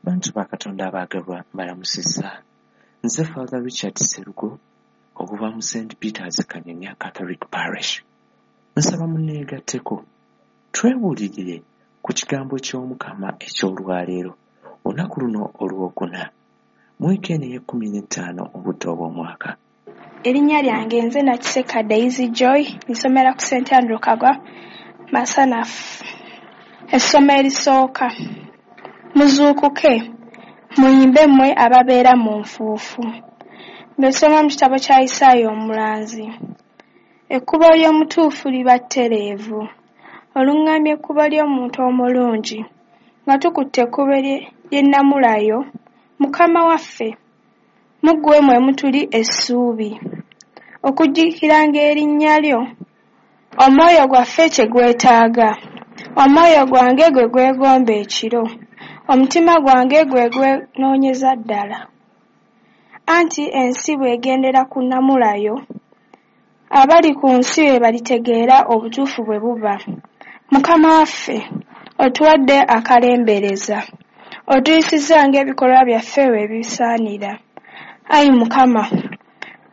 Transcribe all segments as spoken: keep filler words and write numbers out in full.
Bantu ba Katonda abaagalwa, mbalamusizza. Nze Father Richard Sserugo okuva mu Saint Peters Kanyanya Catholic Parish. Nsaba munneegatteko twebuulirire ku kigambo ky'Omukama eky'olwaleero, olunaku luno olwokuna, mu wiiki eno ey'ekkumi n'ettaano obudde obw'omwaka. Erinnya lyange nze Nakiseka Daisy Joy, nsomera ku Saint Andrew Kagwa Masanafu. Essomo erisooka. Muzuukuke, muyimbe mmwe ababeera mu nfuufu. Mbisoma mu kitabo kya Isaaya omulanzi. Ekkubo ly'omutuufu liba ttereevu. Oluŋŋamya ekkubo ly'omuntu omulungi. Nga tukutte ekkubo ly'ennamula yo, Mukama waffe, mu ggwe mwe mutuli essuubi. Okujjukiranga erinnya lyo, omwoyo gwaffe kye gwetaaga. Omwoyo gwange gwe gwegomba ekiro, omutima gwange gwe gwenoonyeza ddala. Anti ensi bw'egendera ku nnamula yo, abali ku nsi bwe balitegeera obutuufu bwe buba. Mukama waffe, otuwadde akalembereza, otuyisizza ng'ebikolwa byaffe bwe bisaanira. Ayi Mukama,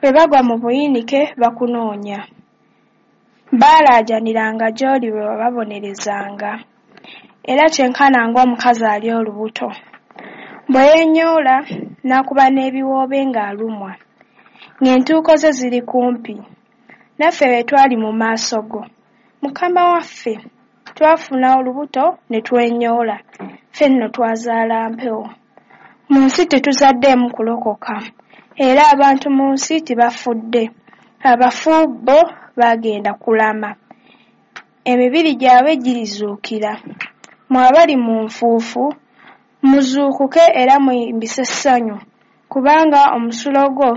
bwe bagwa mu buyinike bakunoonya. Baalaajaniranga gy'oli bwe wababonerezanga. Era kyenkana ng'omukazi ali olubuto. Bwe yeenyoola n'akuba n'ebiwoobe ng'alumwa, ng'entuuko ze ziri kumpi. Naffe bwe twali mu maaso go, Mukama waffe, twafuna olubuto ne twenyoola, ffe nno twazaala mpewo. Mu nsi tetuzaddeemu kulokoka, era abantu mu nsi tebafudde. Abafu bo bagenda kulama, emibiri gyabwe girizuukira. Mmwe abali mu nfuufu, muzuukuke era muyimbise essanyu, kubanga omusulo gwo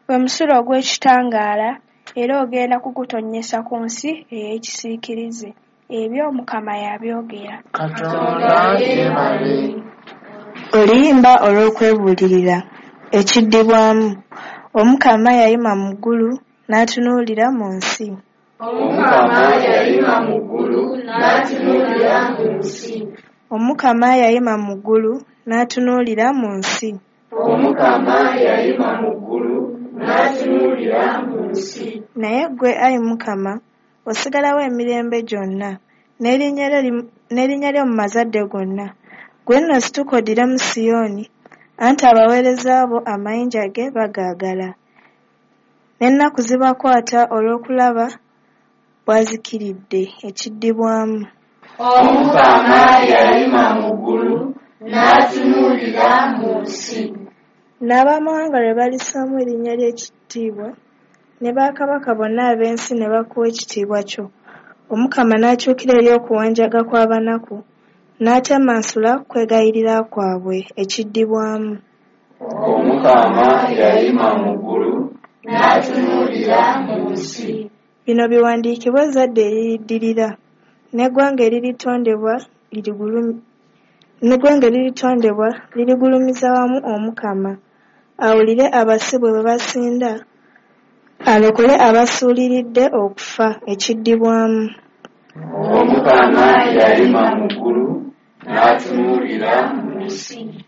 gwe musulo ogw'ekitangaala, era ogenda kugutonnyesa ku nsi ey'ekisiikirize. Ebyo Mukama y'abyogera. Katonda yeebale. Oluyimba olw'okwebuulirira, ekiddibwamu. Omukama yayima mu ggulu n'atunuulira mu nsi. Omukama yayima mu ggulu n'atunuulira mu nsi. Omukama yayima mu ggulu n'atunuulira mu nsi. Omukama yayima mu ggulu n'atunuulira mu nsi. Naye ggwe, ayi Mukama, osigalawo emirembe gyonna, n'erinnya lyo mu mazadde gonna. Ggwe nno situka oddire mu Siyoni, anti abaweereza bo amayinja ge bagaagala. N'ennaku zibakwata olw'okulaba bw'azikiridde. Ekiddibwamu. Omukama yayima mu ggulu n'atunuulira mu nsi. N'abamawanga lwe balissaamu erinnya ly'ekitiibwa, ne bakabaka bonna ab'ensi ne bakuwa ekitiibwa kyo. Omukama n'akyukira eri okuwanjaga kw'abanaku, n'atemansula kwegayirira kwabwe. Ekiddibwamu. Omukama yayima mu ggulu n'atunuulira mu nsi. Bino biwandiikibwe ezzadde eririddirira, n'eggwanga eriritondebwa n'eggwanga eriritondebwa lirigulumiza wamu Omukama. Awulire abasibwe bwe basinda, alokole abasuuliridde okufa. Ekiddibwamu. Omukama yayima mu ggulu n'atunuulira mu nsi.